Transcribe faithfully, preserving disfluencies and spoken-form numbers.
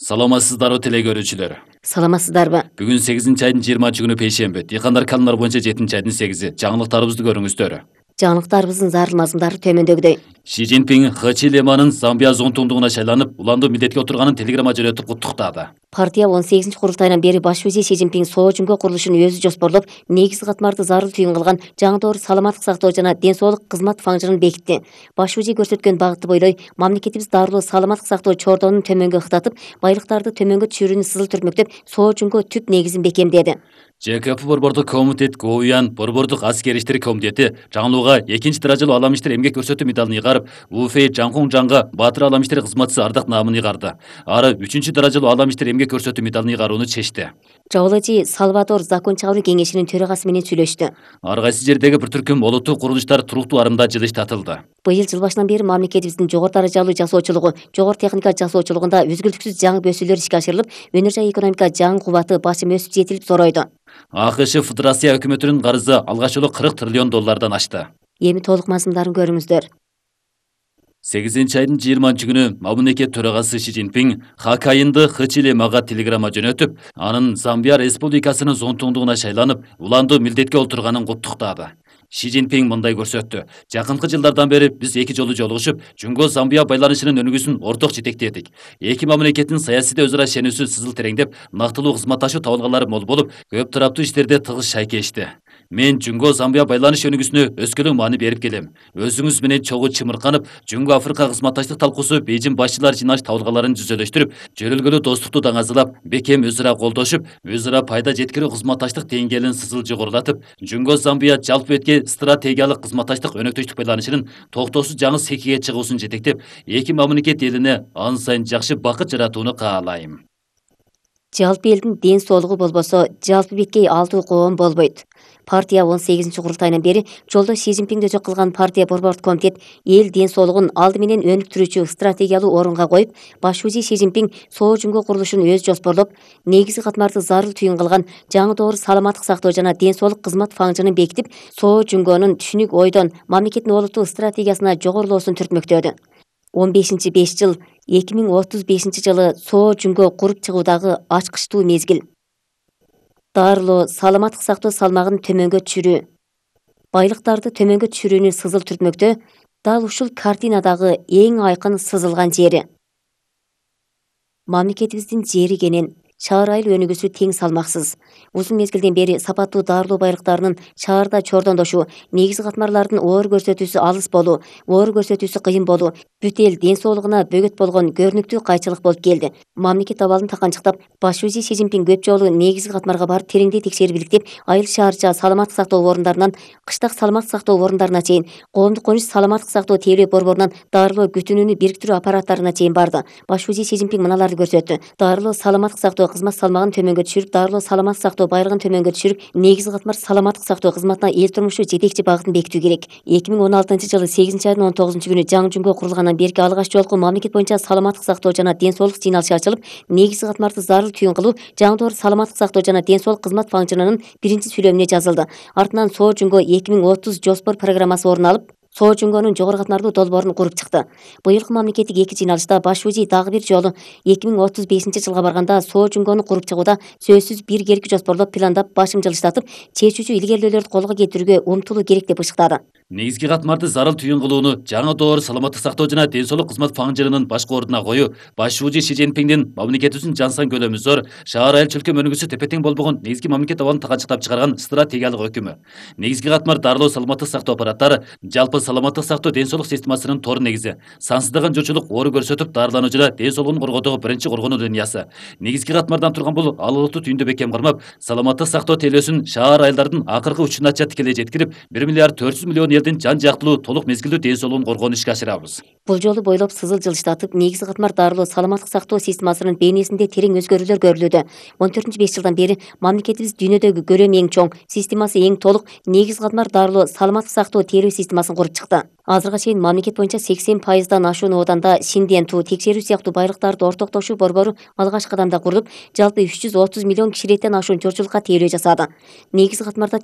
Саламатсыздарбы теле көрүүчүлөр. Саламатсыздарбы? Бүгүн сегизинчи айдын жыйырманчы күнү пейшемби. Дыйкандар календар боюнча жетинчи айдын сегизи. Жаңылыктарыбызды көрүңүздөр. Жаңылыктарыбыздын зарыл мазмундары төмөндөгүдөй. Ши Цзиньпин Хачилеманын Замбия зонтуңдугуна шайланып, уландуу милдетке отурганын телеграмма жөнөтүп куттуктады. Партия он сегизинчи курултайынан бери баш вазир Ши Цзиньпин Соо Чунго курулушун өзү жоспорлоп, негизги катмарды зарыл түйүн кылган жаңы доор саламаттык сактоо жана ден соолук кызмат фаңжырын бекитти. Баш вазир көрсөткөн багытты бойлой мамлекетибиз дарылуу саламаттык сактоо чордонун төмөнгө ыктатып, байлыктарды төмөнгө түшүрүүнү сызыл түртмөктөп, Соо Чунго түп негизин бекемдеди. Ж К П борбордук комитет Гоуян борбордук аскер иштери комитети жаңылууга экинчи даражалуу алам иштер эмгек көрсөтүү медалын ыйгарып, Уфей Жаңкуң Жаңга Баатыр алам иштер кызматчысы ардак наамын ыйгарды. Ары үчүнчү даражалуу алам иштер эмгек көрсөтүү медалын ыйгарууну чечти. Жабылачы Салвадор закон чыгаруу кеңешинин төрагасы менен сүйлөштү. Ар кайсы жердеги бир түркүм олуттуу курулуштар туруктуу арымда жылыштатылды. Быйыл жыл башынан бери мамлекетибиздин жогору даражалуу жасоочулугу, жогору техника жасоочулугунда үзгүлтүксүз жаңы бөсүүлөр ишке ашырылып, өнөр жай экономика жаңы кубаты башым өсүп жетилип зоройду. А К Ш Федерация өкмөтүнүн карызы алгач жолу кырк триллион доллардан ашты. Эми толук мазмундарын көрүңүздөр. сегизинчи айдын жыйырманчы күнү мамлекет төрагасы Ши Цзиньпин Хакайынды Хачилемага телеграмма жөнөтүп, анын Замбия республикасынын зонтуңдугуна шайланып, уландуу милдетке отурганын куттуктады. Ши Цзиньпин мындай көрсөттү. Жакынкы жылдардан бери биз эки жолу жолугушуп, Жунго Замбия байланышынын өнүгүүсүн орток жетектедик. Эки мамлекеттин саясийде өзара ишенүүсү сызыл тереңдеп, нактылуу кызматташуу табылгалары мол болуп, көп тараптуу иштерде тыгыз шайкешти. Мен Жунго Замбия байланыш өнүгүүсүнө өскөлөң маани берип келем. Өзүңүз менен чогуу чымырканып, Жунго Африка кызматташтык талкуусу Бейжин башчылар жыйналыш табылгаларын жүзөлөштүрүп, жөрөлгөлүү достукту даңазалап, бекем өз ара колдошуп, өз ара пайда жеткирүү кызматташтык деңгээлин сызыл жогорулатып, Жунго Замбия жалпы этке стратегиялык кызматташтык өнөктөштүк байланышынын токтоосуз жаңы секиге чыгуусун жетектеп, эки мамлекет элине ан сайын жакшы бакыт жаратууну каалайм. Жалпы элдин ден соолугу болбосо, жалпы бекей алтуу коом болбойт. Партия он сегизинчи курултайынан бери жолдош Ши Цзиньпин дөчөк кылган партия борбордук комитет эл ден соолугун алды менен өнүктүрүүчү стратегиялуу орунга коюп, баш вазир Ши Цзиньпин Соо Чунго курулушун өзү жоспорлоп, негизги катмарды зарыл түйүн кылган жаңы доор саламаттык сактоо жана ден соолук кызмат фаңжырын бекитип, Соо Чунгонун түшүнүк ойдон мамлекеттин олуттуу стратегиясына жогорулоосун түртмөктөдү. он бешинчи беш жыл эки миң отуз бешинчи жылы Соо Чунго куруп чыгуудагы ачкычтуу мезгил. Дарылоо саламаттык сактоо салмагын төмөнгө түшүрүү. Байлыктарды төмөнгө түшүрүүнү сызыл түртмөктө дал ушул картинадагы эң айкын сызылган жери. Мамлекетибиздин жери кенен, шаар айыл өнүгүүсү тең салмаксыз. Узун мезгилден бери сапаттуу дарылоо байлыктарынын шаарда чордондошуу, негизги катмарлардын оор көрсөтүүсү алыс болуу, оор көрсөтүүсү кыйын болуу бүт эл ден соолугуна бөгөт болгон көрүнүктүү кайчылык болуп келди. Мамлекет абалын таканчыктап, баш вазир Ши Цзиньпин көп жолу негизги катмарга барып тереңдей текшерип иликтеп, айыл шаарча саламаттык сактоо орундарынан кыштак саламаттык сактоо орундарына чейин, коомдук он үч саламаттык сактоо тейлөө борборунан дарылоо күтүнүүнү бириктирүү аппараттарына чейин барды. Баш вазир Ши Цзиньпин мыналарды көрсөттү. Дарылоо саламаттык сактоо кызмат салмагын төмөнгө түшүрүп, дарылоо саламаттык сактоо байлыгын төмөнгө түшүрүп, негизги катмар саламаттык сактоо кызматына эл турмушу жетекчи багытын бекитүү керек. эки миң он алтынчы жылы сегизинчи айдын он тогузунчу күнү жаңы Жунго курулгандан берки алгач жолку мамлекет боюнча саламаттык сактоо жана ден соолук жыйналышы ачылып, негизги катмарды зарыл түйүн кылуу, жаңы доор саламаттык сактоо жана ден соолук кызмат фаңжырынын биринчи сүйлөмүнө жазылды. Артынан Соо Чунго эки миң отуз жоспор программасы орун алып, Соо Чунгонун жогору катмардуу долбоорун куруп чыкты. Быйылкы мамлекеттик эки жыйналышта баш вазир дагы бир жолу эки миң отуз бешинчи жылга барганда Соо Чунгону куруп чыгууда сөзсүз биргелки жоспорлоп, пландап, башым жылыштатып, чечүүчү илгерүүлөрдү колго кетирүүгө умтулуу керек деп ышыктады. Негизги катмарды зарыл түйүн кылууну жаңы доор саламаттык сактоо жана ден соолук кызмат фаңжырынын башкы ордуна коюу баш вазир Ши Цзиньпиндин мамлекетибиздин жан сан көлөмү зор, шаар айыл чөлкөм өнүгүүсү тепе-тең болбогон негизги мамлекет абалын таканчыктап чыгарган стратегиялык өкүмү. Негизги катмар дарылоо саламаттык сактоо аппараттары жалпы саламаттык сактоо ден соолук системасынын тор негизи. Сансыздаган жочулук оору көрсөтүп, даарылануу жана ден соолугун коргоодогу биринчи коргонуу линиясы. Негизги катмардан турган бул алалыктуу түйүндө бекем кармап, саламаттык сактоо тейлөөсүн шаар айылдардын акыркы учунача тикелей жеткирип, бир миллиард төрт жүз миллион элдин жан жактылуу толук мезгилдүү ден соолугун коргоону ишке ашырабыз. Бул жолу бойлоп сызыл жылыштатып, негизги катмар дарылоо саламаттык сактоо системасынын бейнесинде терең өзгөрүүлөр көрүлүүдө. он төртүнчү беш жылдан бери мамлекетибиз дүйнөдөгү көлөмү эң чоң, системасы эң толук, негизги катмар дарылоо саламаттык сактоо тейлөө системасын куруп чыкты. Азыркыга чейин мамлекет боюнча сексен пайыздан ашуун ооданда шинден туу, текшерүү сыяктуу байлыктарды ортоктошуу борбору алгачкы кадамда курулуп, жалпы үч жүз отуз миллион кишилеттен ашуун журчулукка тейлөө жасады. Негизги катмарда